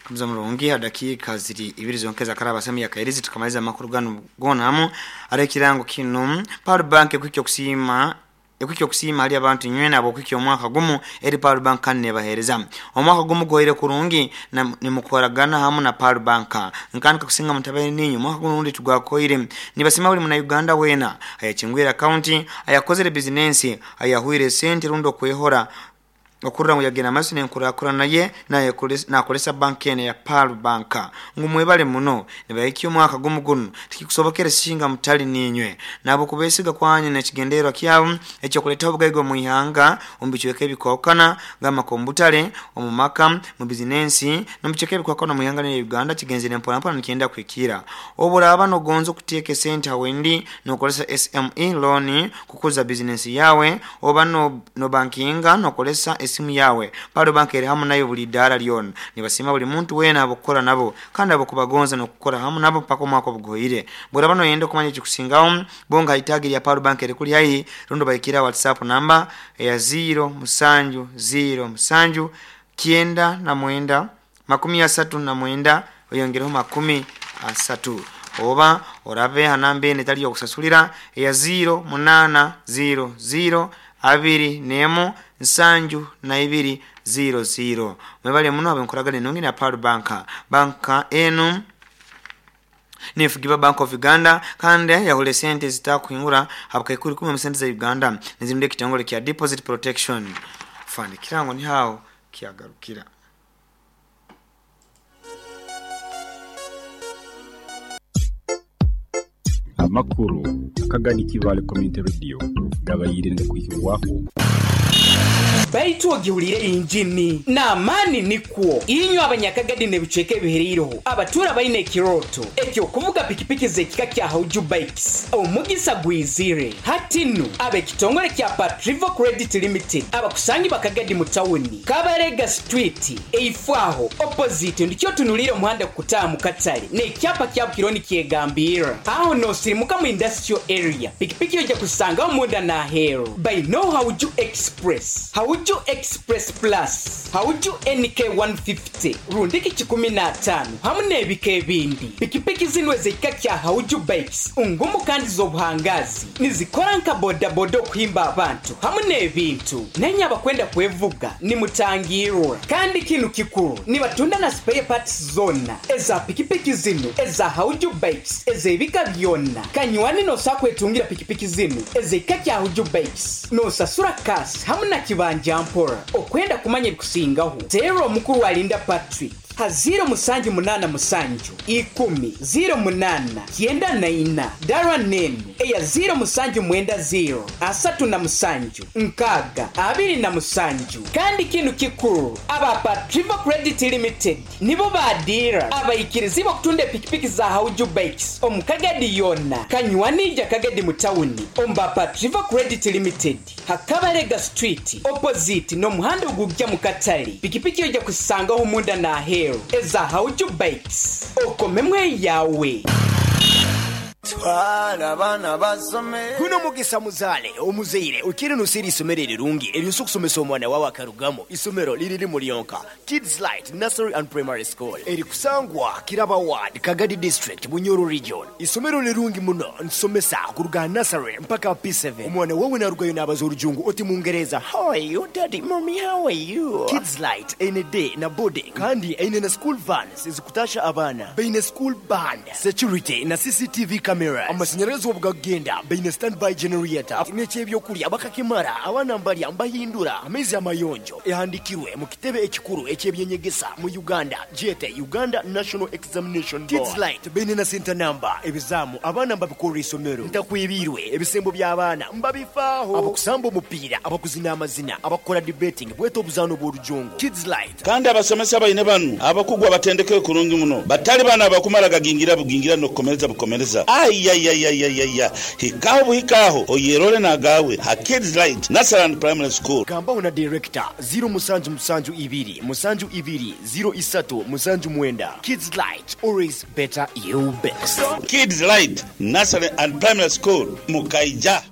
Muza murungi ha dakiika ziri ibiri zonka ezakaraba semu ya Kairizi tukamaliza amakuru ganu gona hamu ari ekirango kinu Pearl Bank ekuhikya okusiima ekuhikya okusiima hali abantu inywena ab'okuhikya omwaka gumu eri Pearl Bank kandi nebahereza omwaka gumu guhoire kurungi na nimukoragana hamu na Pearl Bank nkanka kusinga mutabaire ninywe omwaka gunu rundi tugwakoire nibasiima buli muna Uganda wena ayakingwire akaunti ayakozere bizinensi ayahwire esente rundi okwehora Okurora ngu yagenda mumaiso n'enkurakurana ye nakoresa banka enu eya Pearl Bank. Ngu mwebale muno. Nibahikya omwaka gumu gunu, tikikusobokere singa mutali niinywe. Nahabw'okubesiga kwanyu n'ekigendererwa kyabu eky'okuleetaho obugaiga omu ihanga omu bicweka ebikwahukana gamba nk'omu butale, omu maka, mu bizinensi, n'omu bicweka ebikwahukana omu ihanga linu erya Uganda kigenzere mpora mpora nikyenda kuhikiira. Obu oraaba nogonza okuteeka esente ha wendi nokozesa SME loan Kukuza bizinensi yaawe oba nobankinga nokoresa esimu yaawe, Pearl Bank eri hamu naiwe buli idaara lyona. Nibasiima buli muntu weena habw'okukora nabo kandi habw'okubagonza n'okukora hamu nabo mpaka omwaka obuguhoire. Bworaba noyenda okumanya ekikusingaho, bonga ha itaagi erya Pearl Bank erikuli haihi rundi obahikiire ha WhatsApp namba eya ziiro musanju ziiro musanju 99 39 oyongereho 30 oba orabe ha namba eno etali y'okusasulira eya ziiro munaana ziiro ziiro 21 72 ziiro ziiro. Mwebale muno habw'enkoragana enungi na Pearl Bank. Banka enu nefugibwa Bank of Uganda kandi yahura esente ezitakuhingura ha bukaikuru ikumi omu sente za Uganda nizirindwa ekitongole kya Deposit Protection Fund. Ekirango niho aho kyagarukira. Amakuru akagani Kibaale Community Radio gabaire nigakwihibwaho. Baitu ogihuliire einjini n'amaani nikwo. Inywe Abanyakagadi n'ebicweka ebihereireho abatuura baine ekirooto eky'okuvuga pikipiki z'ekika kya Hauju Bikes, omugisa gwizire. Hati nu, ab'ekitongore kya Patrivo Credit Limited abakusangibwa Kagadi mu tawuni, Kabarega Street, eifo aho, opposite, ndikyo otunuliire omuhanda kukutaaha mu katale n'ekyapa kya Bukiro nikyegambirra. Aho n'osirimuka mu Industrial Area, pikipiki oija kuzisangaho munda n'aheeru. Baineo Hauju Express, Hauju Express Plus, Hauju NK 150 rundiki 150 hamu n'ebika ebindi. Pikipiki zinu ez'ekika kya Hauju Bikes ngumu kandi z'obuhangaazi. Nizikora nka bodaboda okuhimba abantu hamu n'ebintu. Nainye abakwenda kwevuga nimutangirwa. Kandi kinu kikuru, nibatunda na spare parts zoona eza pikipiki zinu eza Hauju Bikes ez'ebika byona. Kanywani nosobola kwetungira pikipiki zinu ez'ekika kya Hauju Bikes nosasura cash hamu na kibanja mpora. Okwenda kumanya ebikusingaho, teera omukuru Alinda Patrick. Ha ziiro musanju munaana musanju ikumi ziiro munaana kyenda na ina. Dara n'enu eya ziiro musanju mwenda ziiro 37 6 27. Kandi kinu kikuru, aba Patrivo Credit Limited nibo ba diira abaikirizibwa okutunda epikipiki za Hauju Bikes omu Kagadi yoona. Kanywani ija Kagadi mu tawuni omu ba Patrivo Credit Limited. Ha Kabalega Street opposite n'omuhanda ogugya mu katale, pikipiki oija kuzisangaho munda n'aheeru eza Hauju Bikes. Okomemu eyawe. Twala abaana basome. Guno mugisa muzaale omuzaire okiire noseera eisomero erirungi eryosa okusomesa omwana wawe akarugamu. Isomero liri limu lyonka, Kids Light Nursery and Primary School erikusangwa Kiraba Ward, Kagadi District, Bunyoro Region. Isomero lirungi muno nitusomesa kuruga aha nursery mpaka aha P7. Omwana wawe narugayo nabaza orujungu oti mungereza How are you daddy, mummy how are you? Kids Light eine day na boarding kandi eine na school vans ezikutasha abaana. Baine school band, security na CCTV cameras. Amashanyarazi obu gakugenda baine standby generator n'eky'ebyokurya bakakimara abaana mbarya mbahindura amaizi amayonjo. Ehandikirwe mu kitebe ekikuru eky'eby'enyegesa mu Uganda gyete Uganda National Examination Board. Kids Light baine na senta namba, ebizaamu abaana mbabikorera eisomero, ntakwebiirwe, ebisembo by'abaana mbabifaaho, abakusamba omupiira, abakuzina amazina, abakukora debating bwete obuzaano bw'orujungu. Kids Light. Kandi abasomesa baine banu abakugu abatendekere kurungi muno, batali bano abakumara gagingira bugingira n'okukomereza bukomereza. Aiaiaiaiaia! Hikaho buhikaho oyerole n'agaawe ha Kids Light Nursery and Primary School. Gambaho na Director, ziiro musanju musanju ibiri musanju ibiri ziiro isatu musanju mwenda. Kids Light, always better you best. Kids Light Nursery and Primary School, Mukaija.